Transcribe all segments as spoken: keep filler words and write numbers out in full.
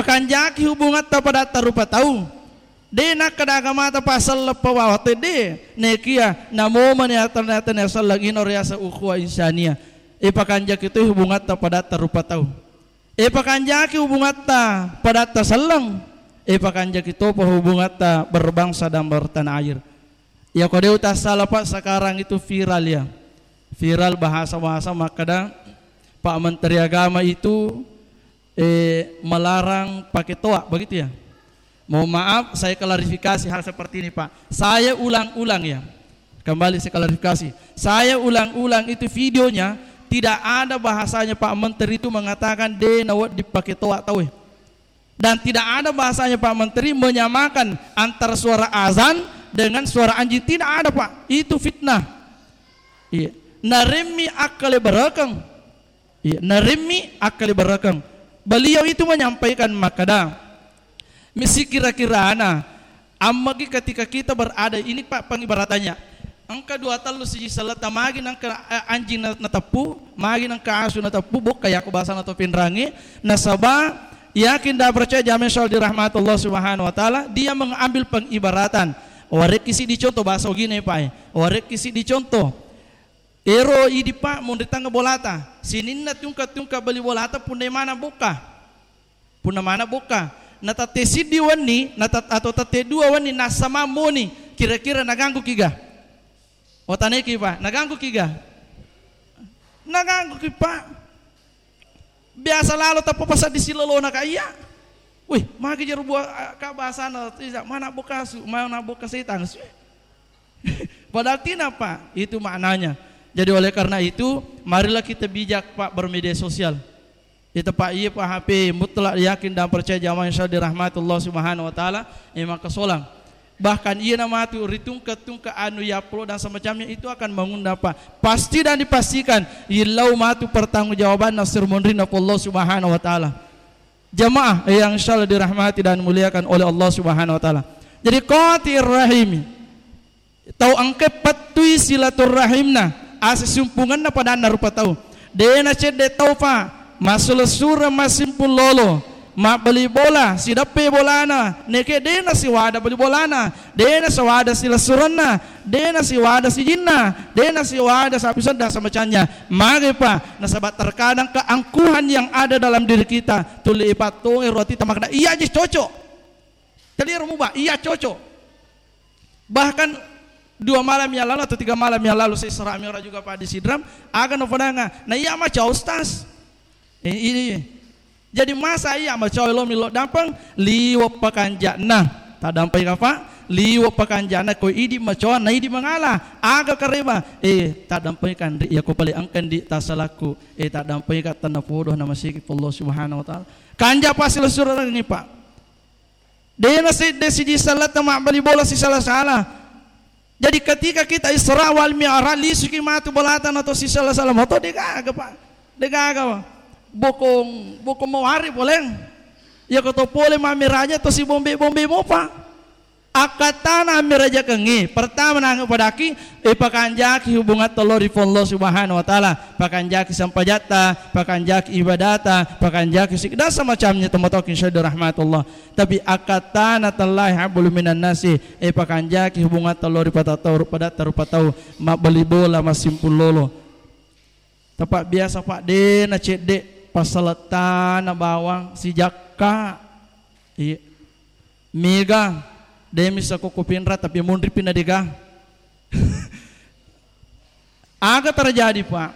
Kanjaki hubungatta padatta rupa tau. De nakkeda agamata pa selleng pa bawang, de. Nekia namomani atan-, atan selleng, ino riaseng ukhuwah insania. Ipakanjaki toi hubungatta padatta rupa tau. Ipakanjaki hubungatta padatta selleng. Ipakanjaki topa hubungatta berbangsa dan bertanah air. Iya ko de utassala, Pak, sekarang itu viral ya. Viral bahasa-bahasa makkeda Pak Menteri Agama itu, eh, melarang pakai toa, begitu ya? Mohon maaf, saya klarifikasi hal seperti ini, Pak. Saya ulang-ulang ya. Kembali saya klarifikasi. Saya ulang-ulang itu videonya, tidak ada bahasanya Pak Menteri itu mengatakan de nawedding pakai toa tau. Dan tidak ada bahasanya Pak Menteri menyamakan antara suara azan dengan suara anjing. Tidak ada, Pak. Itu fitnah. Iya. Naremmi akkale berekeng. Iya, naremmi akkale berekeng. Beliau itu menyampaikan makkeda, misi kira-kirana, ammagi ketika kita berada, ini, Pak, pengibaratannya. Engka dua tellu siji selletta, magi nengka, eh, anjing na-, nateppu, magi nengka asu nateppu, bokka yako bahasana to Pinrangi, nasaba yakin dan percaya jamaah yang selalu dirahmati Allah Subhanahu wa Ta'ala, dia mengambil pengibaratan. Warekki siddi contoh bahasa ogina, Pak, eh. Warekki siddi contoh. Ero idi, Pak, monri tengnga bolata. Sininna tungka-tungka bali bolata, punna mana bokka. Punna mana bokka. Na tette siddi wenni, na tat-, atau tette dua wenni, nassama moni. Kira-kira naganggu kiga? Otaneki, Pak, naganggu kiga? Naganggu ki, Pak. Biasa lalo tappa pasaddi silolona ka iya. Wih, magi jeru bua, a, ka bahasana, tidak, mana bokka asu, mana bokka setang. Padahal tidak, Pak. Itu maknanya. Jadi oleh karena itu, marilah kita bijak, Pak, bermedia sosial. Itu, Pak, iya, Pak, H P mutlak yakin dan percaya jamaah yang selalu dirahmati Allah Subhanahu wa Ta'ala, eh, maka solang. Bahkan iya namatu ritungka-tungka anu ya upload dan semacamnya itu akan mengundang, Pak. Pasti dan dipastikan, illau matu pertanggungjawaban nasir munrina Allah Subhanahu wa Ta'ala. Jamaah yang insyaallah dirahmati dan dimuliakan oleh Allah Subhanahu wa Ta'ala. Jadi, qati'ir rahimi, tau engka pattui silaturrahimna, asisumpungenna padanna rupa tau. De nacedde tau, Pak, massulessureng massimpung lolo, mabbali bola, sideppe bolana, neke de nasiwada bali bolana, de nasiwada silessurenna, de nasiwada sijinna, de nasiwada sapiseng dan semacamnya. Magi, Pak? Nasaba terkadang keangkuhan yang ada dalam diri kita tuli ipattongi roti tamakna, iya je cocok. Tadi romuba, iya cocok. Bahkan dua malam yang lalu atau tiga malam yang lalu, saya Isra Mi'raj juga, Pak, di Sidram, aga nafadanga, na iya maca, Ustaz. Eh, ini. Jadi masa iya maca lo milo dampeng, liwat pakanja'na. Taddampengka, Pak? Liwat pakanja'na, ko idi maca, na idi mangala. Aga kareba? Eh, taddampengka, Ndi, iya ko pale engka, Ndi, tassalakku. Eh, taddampengka, tennapodo na masiki Allah Subhanahu wa Ta'ala. Kanja pasilessureng ni, Pak. De nasedde siji selletta mabbali bola sisala-sala. Jadi ketika kita Isra wal Mi'raj, lisuki matu bolata nato sisala-sala moto, degaga, Pak. Degaga, Pak. Bokong, bokong mawari poleng. Iya ko to pole mammiraja to sibombe-bombe mopa. Akkattana ammirajakengngi, pertama nangnge padaki, eh, pakanjaki hubungatta lao ri Puang Allah Subhanahu wa Ta'ala, pakanjaki sempajatta, pakanjaki ibadata, pakanjaki sik-, dan semacamnya, tomatoki insyaallah rahmatullah. Tapi akkattana tallahi hablum minan nasi, eh, pakanjaki hubungatta lao ri padatta rupa tau, mabbali bola, massimpung lolo. Tapa biasa, Pak, de nacedde passalettana bawang sijakka. Iya. Mega, de misa ko Pinrang, tapi munri pi na dega. Aga terjadi, Pak?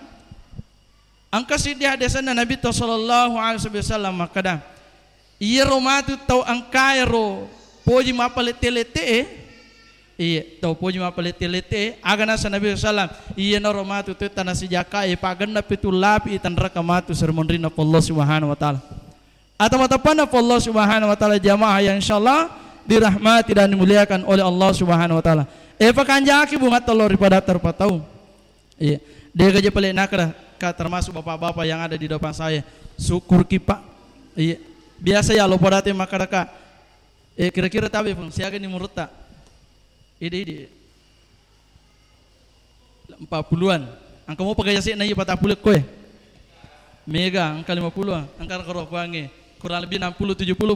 Engka siddi haddesanna Nabitta sallallahu alaihi wasallam makkeda, iyaro matu tau engkaero poji mappalette-lette'e, iya, tau poji mappalette-lette'e, aga nasa Nabi sallallahu alaihi wasallam, iyanaro matu tau tana sijakkae, pagenna pitu lapi tanraka matu seri munrinna Allah Subhanahu wa Ta'ala. Atau matappanna Allah Subhanahu wa Ta'ala, jamaah yang insyaallah dirahmati dan dimuliakan oleh Allah Subhanahu wa Ta'ala. Eh, pakanjaki bungatta lao ri padatta rupa tau. Iya. Degaja pale nakra, Kak, termasuk bapak-bapak yang ada di depan saya. Syukur ki, Pak. Iya. Biasa ya lo padate makkadaka. Eh, kira-kira tabe pun siaga ni murutta. Ide-ide. Empat puluhan. Engka mopa gaja se'na iya patappulo koe. Mega, engka lima puluh, engka karo kuangnge. Kurang lebih enam puluh, tujuh puluh,